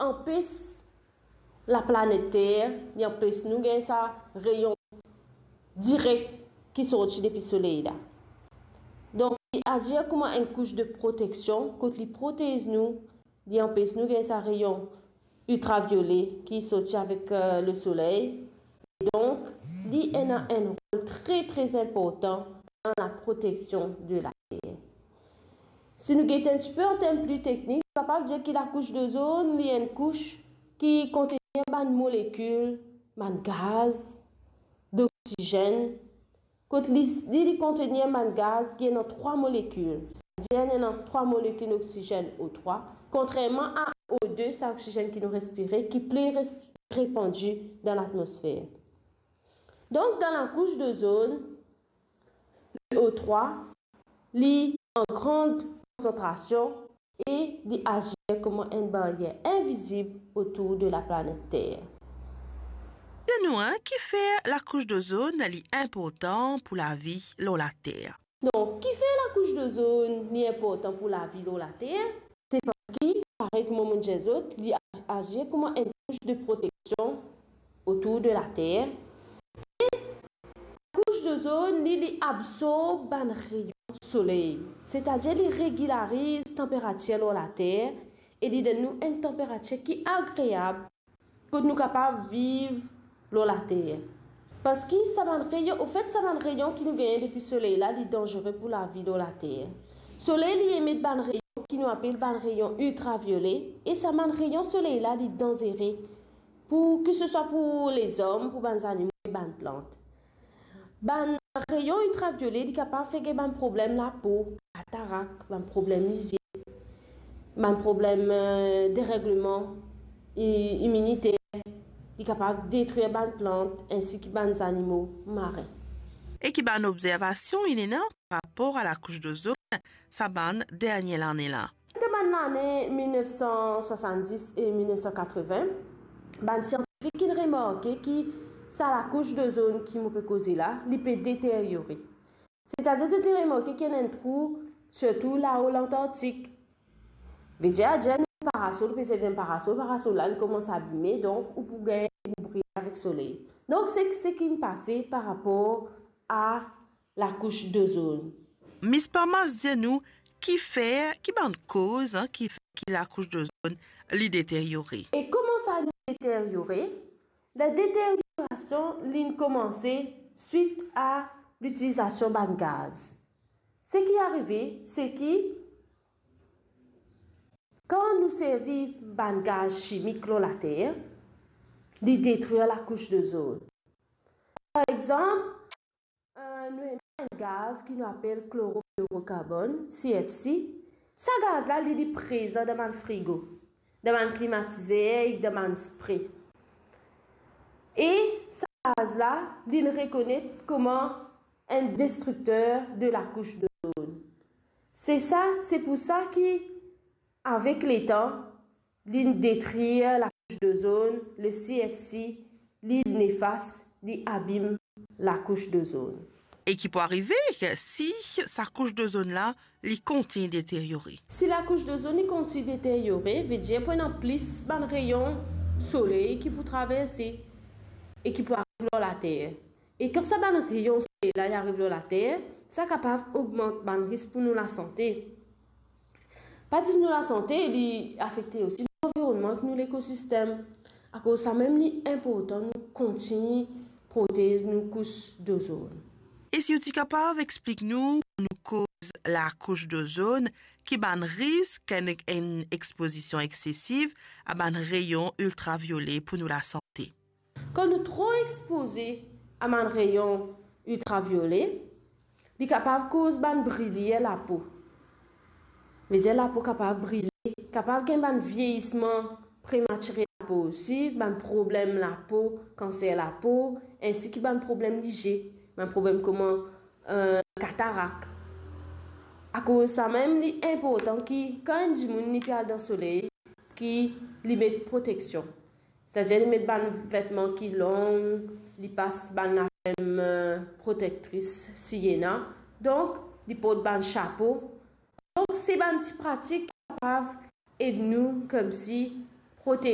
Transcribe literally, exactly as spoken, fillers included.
anpes laplanet Ter, li anpes nou gagn sa reyon direk ki sorti depi soley la. Donk, li azir kouma enn kous de proteksion, kot li protez nou, li anpes nou gagn sa reyon iltraviole ki sorti avek, eh, lesoley. Donk, li ena enn rol tre, tre inportan dan laproteksion de Later. Si nou get enn tipe an term pli teknik, nou kapav dir ki lakous dozonn, li enn kous ki kontenir bann molekil, bann gaz, doksizenn. Kot li, li, li kontenir bann gaz ki ena trwa molekil. Setadir, ena trwa molekil oksizenn O trwa, kontrerman a O de, sa oksizenn ki nou respire, ki pli res-, repandi dan latmosfer. Donk, dan lakous dozonn, le O trwa, li an gran konsantrasion e li azir kouma enn baryer invizib otour de laplanet Ter. Dir nou, en, kifer lakous dozonn li inportan pou lavi lor Later? Donk, kifer lakous dozonn li inportan pou lavi lor Later? Se parski, parey kouma mo dir zot, li a-, azir kouma enn kous de proteksion otour de Later. E lakous dozonn, li, li absorb bann reyon soley, setadir li regilariz tanperatir lor Later e li donn nou enn tanperatir ki agreab kot nou kapav viv lor Later. Parski sa bann reyon, anfet, sa bann reyon ki nou gagn depi soley la, li danzere pou lavi lor Later. Soley, li emet bann reyon ki nou apel bann reyon iltraviole, e sa bann reyon soley la, li danzere pou, ki se swa pou lezom, pou bann zanimo e bann plant. Bann reyon iltraviole, li kapav fer gagn bann problem lapo, katarak, bann problem lizie, bann problem, eh, deregleman i-, iminiter, li kapav detrir bann plant ensi ki bann zanimo marin. E ki bann obzervasion inn ena par rapor a lakous dozonn sa bann dernie lane la? Dan bann lane mil nef san swasanndis e mil nef san katreven, bann siantifik inn remarke ki sa lakous dozonn ki mo pe koze la, li pe deteryore. Setadir, zot inn remarke ki ena enn trou, sirtou lao Lantartik. Vedir, adir nou parasol, pe servi enn parasol, parasol la, li koumans abime, donk ou pou gagn, ou pou brile avek soley. Donk, se, se ki inn pase par rapor a lakous dozonn. Miss Parmas, dir nou, kifer, ki bann koz, en, ki fer ki lakous dozonn li deteryore? E kouma sa li deteryore? Ladeteryorasion, li inn koumanse swit a litilizasion bann gaz. Seki arive, se ki kan nou servi bann gaz simik lor Later, li detrir lakous dozonn. Par exanp, eh, nou ena enn gaz ki nou apel kloroflorokarbonn, C F C. Sa gaz la, li, li prezan dan bann frigo, dan bann klimatizer ek dan bann spre. E sa gaz la, li rekonet kouma enn destrikter de lakous dozonn. Se sa, se pou sa ki, avek letan, li detrir lakous dozonn, le C F C, li nefas, li abim lakous dozonn. E ki pou arive si sa kous dozonn la, li kontign deteryore? Si lakous dozonn li kontign deteryore, vedir pou ena plis bann reyon soley ki pou traverse e ki pou ariv lor Later. E kan sa bann reyon soley la, li ariv lor Later, sa kapav ogmant bann risk pou nou lasante. Pa zis nou lasante, li afekte osi nou lanvironnman ek nou lekosistem. Akoz samem, li inportan nou kontign protez nou kous dozonn. E si ou ti kapav explik nou, nou koz lakous dozonn, ki bann risk enn, enn expozision exsesiv a bann reyon iltraviole pou nou lasante? Kan nou tro expoze a bann reyon iltraviole, li kapav koz bann brilir lapo. Vedir lapo kapav brile, kapav gagn bann vieyisman prematire lapo osi, bann problem lapo, kanser lapo, ensi ki bann problem lizie, bann problem kouma, eh, katarak. Akoz samem, li inportan ki kan enn dimoun li pe al dan soley, ki li met proteksion. Setadir li met bann vetman ki long, li pas bann lakrem, eh, protektris si ena. Donk, li port bann sapo. Donk, se bann ti pratik ki kapav ed nou koumsi protez